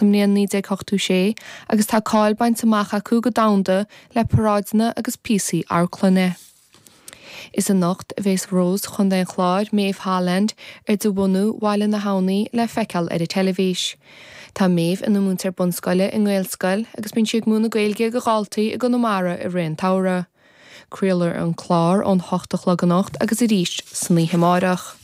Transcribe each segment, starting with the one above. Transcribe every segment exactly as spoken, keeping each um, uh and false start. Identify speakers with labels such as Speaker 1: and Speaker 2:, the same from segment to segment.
Speaker 1: sa mbliain naoi déag ochtó sé agus tá cáil bainte amach acu go domhanda le paráideanna agus píosaí amharclainne. Is anocht a bheas Rós Chontae an Chláir, Maeve Holland, ar de bhunadh Bhaile na hAbhnaí le feiceáil ar an teilifís. Tá Maeve ina múinteoir bunscoile i nGaelscoil agus bíonn sí ag múineadh Gaeilge do dhaltaí i gConamara i rith an tsamhraidh. Craolfar an clár ón hocht a chlog anocht agus arís san oíche amárach.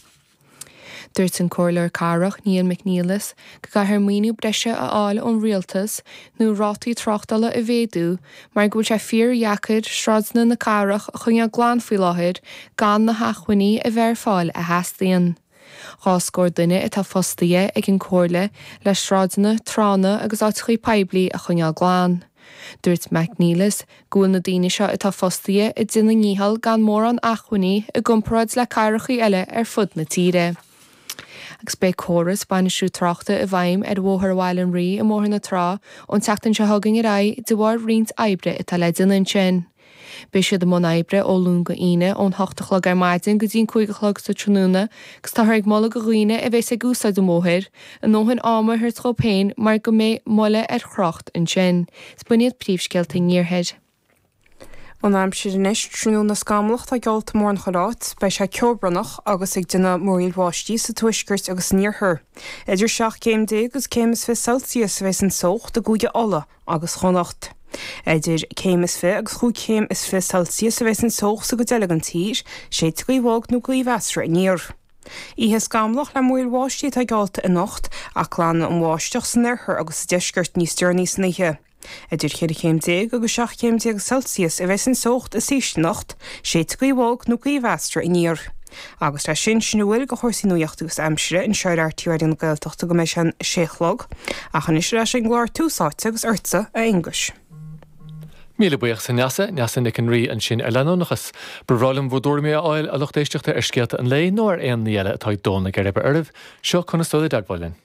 Speaker 1: Dúirt an Comhairleoir Cathrach Niall McNeilis go gcaithfear maoiniú breise a fháil ón rialtas nó rátaí tráchtála a mhéadú mar go bhfuil sé fíordheacair sráideanna na cathrach a choinneáil glan faoi láthair gan na hacmhainní a bheith ar fáil a theastaíonn. Dhá scór duine atá fostaithe ag an Comhairle le sráideanna, tránna agus áiteacha poiblí a choinneáil glan. Dúirt McNeilis go bhfuil na daoine seo atá fostaithe ag déanamh a ndícheall gan mórán acmhainní i gcomparáid le cathracha eile ar fud na tíre. Agus beidh córas bainistiú tráchta i bhfeidhm ar Bhóthar Bhaile an Rí i mBóthar na Trá ón tseachtain seo chugainn ar aghaidh de bharr roinnt oibre atá le déanamh ansin. Beidh siad i mbun oibre ó Luan go hAoine ón hocht a chlog ar maidin go dtí an cúig a chlog sa tráthnóna agus táthar ag moladh do dhaoine a bheas ag úsáid an bhóthair a ndóthain ama a thabhairt dóibh féin mar go mbeidh moille ar thrácht ansin. Is b'in iad príomhscéalta an iarthair.
Speaker 2: An aimsir anois, tráthnóna scamallach atá geallta mórán chuile áit, beidh sé ceobhránach agus ag déanamh múraíl bháistí sa tuaisceart agus san iarthar. Idir seacht gcéim déag agus céim is fiche Celsius a bheas an teocht i gCúige Uladh agus Chonnacht. Idir céim is fiche agus chúig chéim is fiche Celsius a bheas an teocht sa gcuid eile den tír, séidfidh gaoth bhog nó gaoth mheasartha aniar. Oíche scamallach le múraíl bháistí atá geallta anocht ach glanfaidh an bháisteach san oirthear agus sa deisceart níos deireanaí san oíche. Idir cheithre chéim déag agus seacht chéim déag Celsius a bheas an teocht is ísle anocht, séidfidh gaoth bhog nó gaoth mheasartha aniar. Agus leis sin, sin a bhfuil de chúrsaí nuachta agus aimsire anseo ar RTÉ Raidió na Gaeltachta go mbeidh sé an sé a chlog. Ach anois ar ais ag an gclár Tús Áite agus ortsa, a Aonghuis.
Speaker 3: Míle buíochas a Neasa, Neasa Nic an Rí ansin ar leanúnachas. Ba bhreá liom bhur dtuairimí a fháil, a lucht éisteachta, ar scéalta an lae nó ar aon ní eile atá ag dó na geirbe oraibh. Seo conas dul i dteagmháil linn.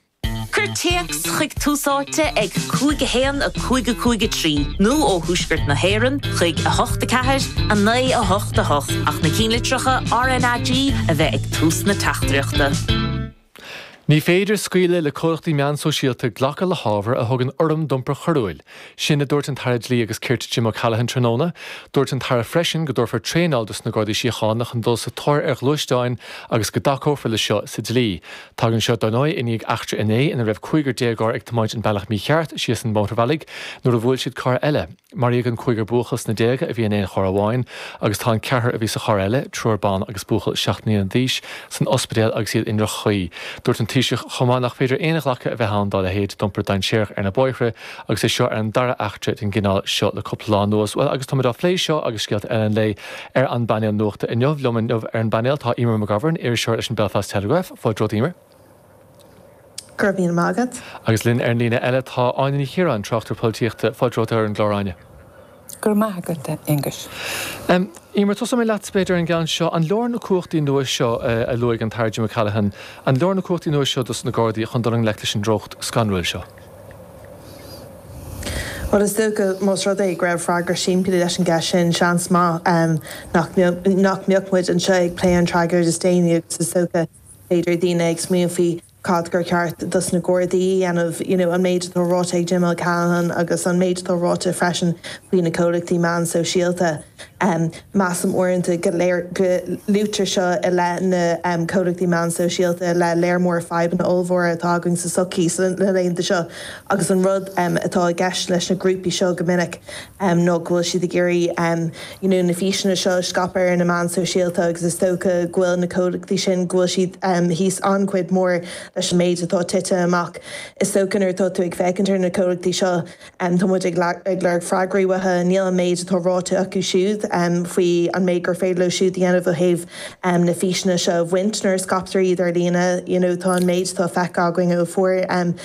Speaker 4: Cuir téacs chuig Tús Áite ag cúig a haon a cúig a cúig a trí nó ó thuaisceart na hÉireann chuig a hocht a ceathair a naoi a hocht a hocht ach na cinnlitreacha RnaG a bheith ag tús na teachtaireachta.
Speaker 3: Ní féidir scaoileadh le comhlachtaí meán sóisialta glacadh le hábhar a thugann urraim d'iompar coiriúil. Sin a dúirt an tAire Dlí agus Cirt Jim O'Callaghan tráthnóna. Dúirt an tAire freisin go dtabharfar traenáil dos na Gardaí Síochána chun dul sa tóir ar ghluaisteáin agus go dtacófar le seo sa dlí. Tagann seo, dar ndóigh, i ndiaidh eachtra inné ina raibh cúigear déagóir ag tiomáint an bealach mícheart síos an mótarbhealaigh nuair a bhuail siad carr eile. Maraíodh an cúigear buachaill sna déaga a bhí in aon charr amháin agus tá an ceathrar a bhí sa charr eile, triúr ban agus buachaill seacht mbliana d'aois, san ospidéal agus iad i ndroch-chaoi. Dúirt an Taoiseach chomh maith nach féidir aon ghlacadh a bheith ann dá leithéid d'iompar dainséarach ar na bóithre agus é seo ar an dara eachtra den gcineál seo le cúpla lá anuas. Bhuel, agus táimid á phlé seo agus scéalta eile an lae ar an bpainéal nuachta inniu. Liom inniu ar an bpainéal tá Eimear McGovern, iriseoir leis an Belfast Telegraph. Fáilte romhat, Eimear.
Speaker 5: Go raibh míle maith agat.
Speaker 3: Agus linn ar an líne eile tá Áine Ní Chiaráin, tráchtaire polaitíochta. Fáilte romhat ar an gclár, Áine.
Speaker 6: Go raibh maith agat, a Aonghuis.
Speaker 3: Eimear, tosóidh mé leat, b'fhéidir, ar an gceann seo. An leor na cumhachtaí nua seo a luaigh an tAire Jim O'Callaghan, an leor na cumhachtaí nua seo dos na Gardaí chun dul i ngleic leis an treocht scanrúil seo?
Speaker 5: Bhuel, is dócha, más rud é go raibh freagra simplí leis an gceist sin, seans maith nach mbeadh muid anseo ag plé an tragóid is déanaí agus is dócha, b'fhéidir, daoine ag smaoineamh faoi cad gur cheart dos na Gardaí a dhéanamh, you know an méid atá ráite ag Jim O'Callaghan agus an méid atá ráite freisin faoi na comhlachtaí meán sóisialta. Measaim uaireanta go léir go luaitear seo i leith na comhlachtaí meán sóisialta i leith léar mór fadhbanna ollmhóra atá againn sa tsochaí sna laethanta seo agus an rud atá i gceist leis na grúpaí seo go minic ná go bhfuil siad ag iarraidh you know na físeanna seo a scaipeadh ar na meáin sóisialta agus is dócha go bhfuil na comhlachtaí sin go bhfuil siad thíos an-chuid mór leis an méid atá tite amach. Is dócha nuair atá tú ag féachaint ar na comhlachtaí seo tá muid ag lorg freagraí uathu. Níl an méid atá ráite acu siúd faoi an méid gur féidir leo siúd a dhéanamh ó thaobh na físeanna seo a bhaint nuair a scaiptear iad ar líne. You know tá an méid atá feicthe againn ó fuair an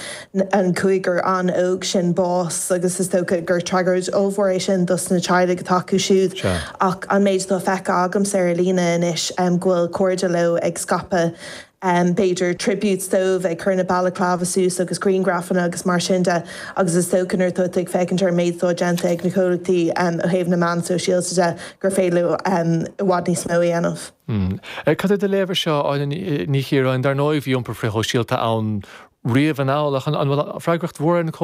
Speaker 5: cúigear an-óg sin bás agus is dócha gur tragóid ollmhór é sin dos na teaghlaigh atá acu siúd ach an méid atá feicthe agamsa ar líne anois go bhfuil cairde leo ag scaipeadh b'fhéidir tributes dóibh, ag cur na balaclava suas agus grianghrafanna agus mar sin de agus is dócha nuair atá tú ag féachaint ar an méid atá déanta ag na comhlachtaí ó thaobh na meán sóisialta de gur féidir leo i bhfad níos mó a dhéanamh.
Speaker 3: Cad é do léamh air seo, Áine Ní Chiaráin? Dar ndóigh bhí iompar frithshóisialta ann riamh anall ach an bhfuil freagracht mhór ar na